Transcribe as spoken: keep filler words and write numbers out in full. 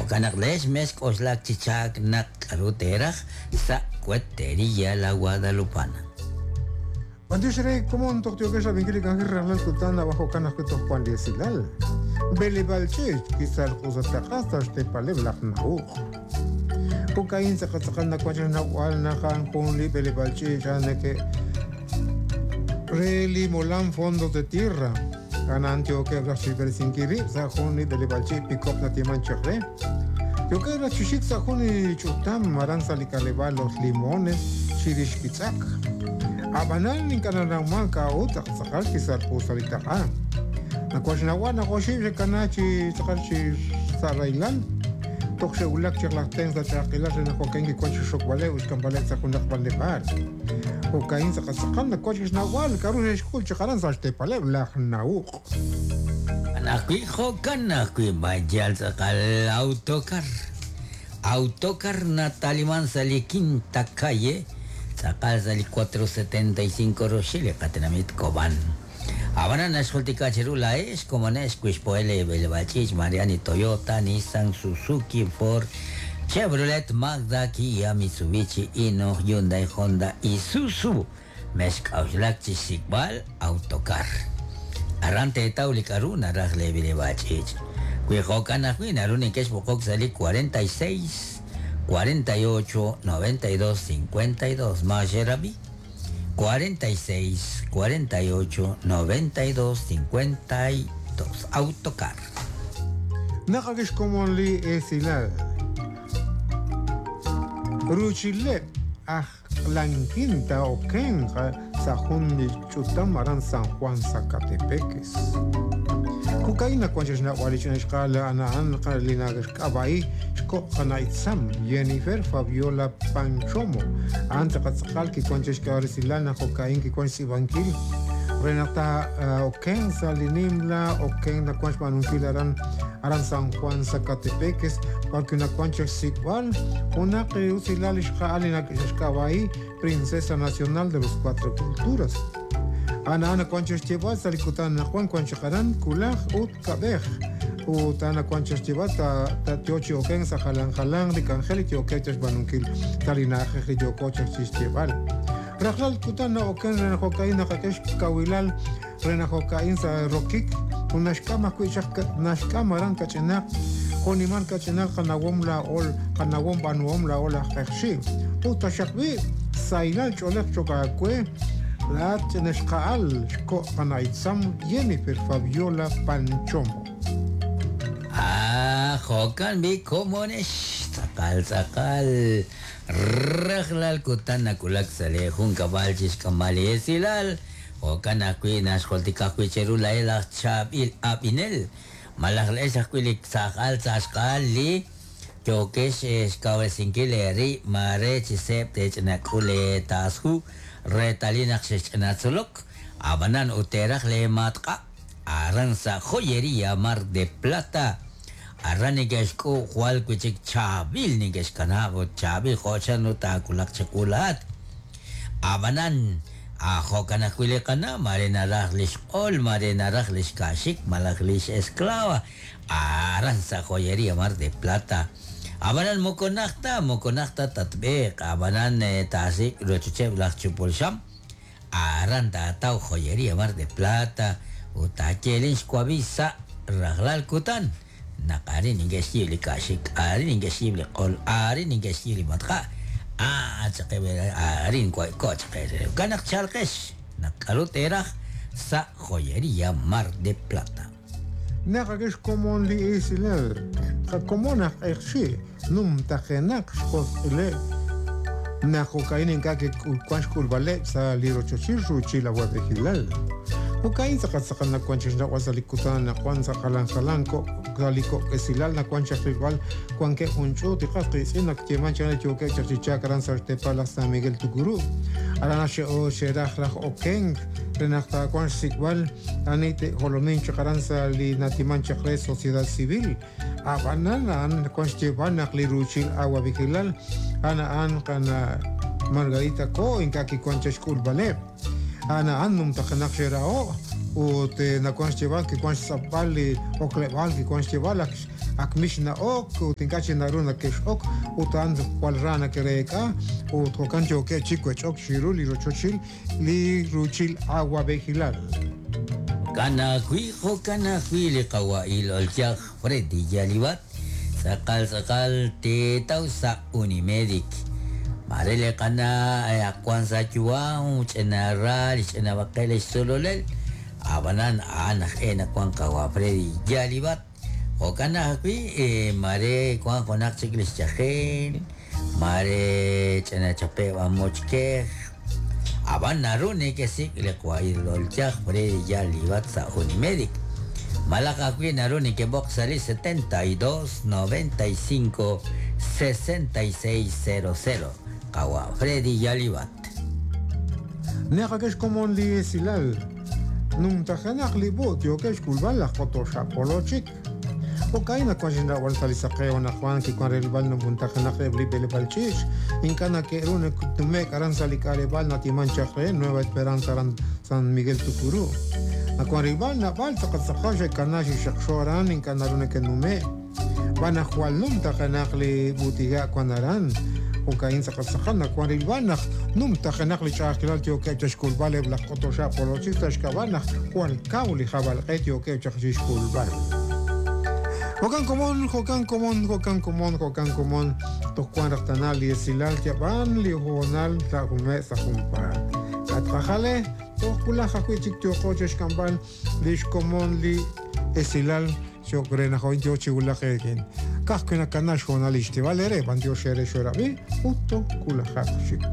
Jo'kan naq lex mes k'oxlak chichak naq k'aru teraj sa Cuetería La Guadalupana. Bantiox re komon toj tiokex rab'inkil li k'anjel rajlal kutan abajo kan ajwi' toj wan li esilal. B'eleb'aal ch'iich' kisal q'usataq'a sa' xteepaleb' laj Nahuq. Jo'ka'in tz'aqal nawank xnawb'al naq a'an jun li b'eleb'aal ch'iich' a'an neke' re li molam Fondos de Tierra. A'an yookeb' raj chixb'eresinkil rib' sa' jun li b'eleb'aal ch'iich' pikop natiman chaq re. Yookeb' raj chi xik sa' jun li ch'utam aran sa' li k'aleb'aal Los Limones chirix kitz'aq. Ab'anan ink'a' nanawman k'a'ut tz'aqal kisalq'u sa' li taq'a. Nawank xnawb'al naq oxib' xe'kana chi tz'aqal chi sa' rahilal. Toj xe'wulak chaq laj tenq sa' ch'a'ajkilal re naq jo'kan kiwank chi xokb'aleb' ut xk'amb'aleb' sa' junaq b'anleb'aal. Jo'ka'in tz'aqal tz'aqal nawank xnawb'al k'a'ru xe'xk'ul chaq aran sa' xteepaleb' laj Nahuq. Ajwi' jo'kan ajwi' mayal tz'aqal autocar. Autocar nataliman sa' li Quinta Calle, tz'aqal sa' li cuatro setenta y cinco roxil li qatenamit Cobán. Ab'anan naxjultika chiru laa'ex komonex kuixpo'el b'eleb'aal ch'iich' Mariani Toyota, Nissan, Suzuki, Ford, Chevrolet, Mazda, Kia, Mitsubishi, Hino, Hyundai, Honda, Isuzu. Mexk'a'uxlak chi xsik'b'al autocar. Aran teetaw li k'aru naraj le b'eleb'aal ch'iich'. Wi jo'kan ajwi' naru nekex b'oqok sa' li cuarenta y seis, cuarenta y ocho, noventa y dos, cincuenta y dos. Maxerabi. cuarenta y seis, cuarenta y ocho, noventa y dos, cincuenta y dos. Autocar. Naqakix komon li esilal. Ruchile aj Lanquinta okenja sa jun li ch'utam aran San Juan Zacatepeques. Jo'ka'in nawank xnawb'al li ch'ina xq'al ana'an li naxk'ab'a'i xko' qana'itsam Jennifer Fabiola Panchomo. A'an tz'aqal kiwank xk'ab'aresilal naq jo'ka'in kiwank xtz'iib'ankil re naq ta oken sa' li nimla oken nawank xb'aanunkil aran aran San Juan Zacatepeques porque nawank xsik'b'al junaq usilal li xq'al li xk'ab'a'i Princesa Nacional de los Cuatro Culturas. Ana ana kwancho xtibal sa likutan na kwan kwancho karan kulaj ut kabej ut ana kwancho xtibal ta ta tiochi oken sa jalan jalan li kanjel tioke chas banunkil talinaje ri yokocha xtibal rajlal kutan na oken rena jokain na kakesh kawilal rena jokain sa rokik unashkama kuichak nashkama ran kachenak joniman kachenak kanawom la ol kanawom banuom la ol ajxi uta shakbi sailal cholek chokakue la tenexqaal xko qanaitzam Jennifer Fabiola Panchomo. Ah, jo'kan bi komonex tz'aqal tz'aqal rajlal kutan nakulak sa li jun kab'al chixk'amb'al li esilal jo'kan ajwi' naxjultika ajwi' cheru la'el aj chaab'il ab'inel malaj le'ex ajwi' li tz'aqal tz'axq'al li yokex xkawresinkil eri mare chi seeb' tech'inak'ul taasju retalil naq xexch'inatzolok ab'anan ut teraj le matq'a aran sa' Joyería Mar de Plata aran neke'xk'u jwal wi' chik chaab'il neke'xkanab' ut chaab'il jo'chan ut taakulaq chiqulaat ab'anan jo'kan ajwi' li qana' mare naraj li xq'ol mare naraj li xka'xik malaj li xesclava aran sa' Joyería Mar de Plata Abanan mokonakta, mokonakta tatbeq, abanan tasik rochucheb laj chupulsham, aran tatau joyería Mar de Plata, utakelin xkuabisa rajlal kutan, naqarin ingexyib li ka'xik, arin ingexyib li q'ol, arin ingexyib li matqa, ah chaqe arin ko chaqe, kanaq chalqex, naq'aru teraj sa Joyería Mar de Plata. Naqakex komon li esilal, qakomon aj q'eqxi, num tajenak xjosq'ile naq jo'ka'in ink'a' kikuan xk'ulb'aleb' sa' li rochochil ruuchil awab'ejilal. Jo'ka'in tz'aqal tz'aqal nawank xnawb'al sa' li kutan nawank sa' jalan jalan ko' sa' li ko'esilal nawank xaqilb'al wankeb' jun ch'uut iqas qitz'in naq yeeman chaq yookeb' chaq chi chaak aran sa' xteepal laj San Miguel Tucurú. Aran xe'o xeraj raj okenk re naq taawank xsik'b'al ani te'jolomin chaq aran sa' li natiman chaq re sociedad civil. Ab'anan a'an nawank xyeeb'al naq li ruuchil awab'ejilal a'an a'an qana Margarita Ko ink'a' kiwank chaq xk'ulb'aleb'. A'an a'an numtajenaq xera'o ut nawank xyeeb'al kiwank xtz'apb'al li okleb'aal kiwank xyeeb'al ak mix na'ok ut ink'a' chik naru nakex'ok ut a'an jwal ra nake'reek'a ut jo'kan yookeb' chik wech'ok chiru li rochochil li ruuchil awab'ejilal. Jo'kan ajwi' jo'kan ajwi' li qawa'il olchaj Freddy Yalibat tz'aqal tz'aqal teetaw sa' Unimedic. Mare li qana' aqwan sa' yu'am ch'ina ra li ch'ina b'aqel li xtzololel ab'anan a'an aj e nawan qawa Freddy Yalibat. Jo'kan ajwi' mare wan junaq chik li xyajel mare ch'ina chape' b'amochkej ab'an naru nekesik' li qawa'il olchaj Freddy Yalibat sa' Unimedic. Malaj ajwi' naru nekeb'oq sa' li setenta y dos noventa y cinco sesenta y seis cero cero. Qawa Freddy Yalibat. Naqakex komon li esilal. Numtajenaq li b'ut yokex xk'ulb'al laj Kotoxapolochik. Jo'kan naq wan xinrawal sa' li saqeo naq wan kiwan rilb'al numtajenaq eb' li b'eleb'aal ch'iich'. Ink'a' nake'ru naktume'k aran sa' li k'aleb'aal natiman chaq re Nueva Esperanza aran San Miguel Tucurú. Nawan rilb'al nab'al tz'aqal xe'kana xixaqxo aran ink'a' naru nake'nume'. B'an naq jwal numtajenaq li b'utiga' wan aran. Jo'kan tz'aqal nawan rilb'al naq numtajenaq li ch'a'ajkilal yookeb' chaq xk'ulb'al eb' laj Kotoxapolochik sa' xk'ab'a' naq jwal kaw li jab'alq'e yookeb' chaq chixk'ulb'al. Jo'kan komon, jo'kan komon, jo'kan komon, jo'kan komon, toj wan raj tana li esilal yab'an li hoonal sa' jume' sa' junpaat. Katqajale, toj wulaj ajwi' chik yooqo chi xk'amb'al li xkomon li esilal xo'q re naq hoy yo chi wulaj eekin. Ka'ajwi' nakana xhoonal li xtib'al ere, b'antiox ere xorab'i, ut toj wulajaq chik.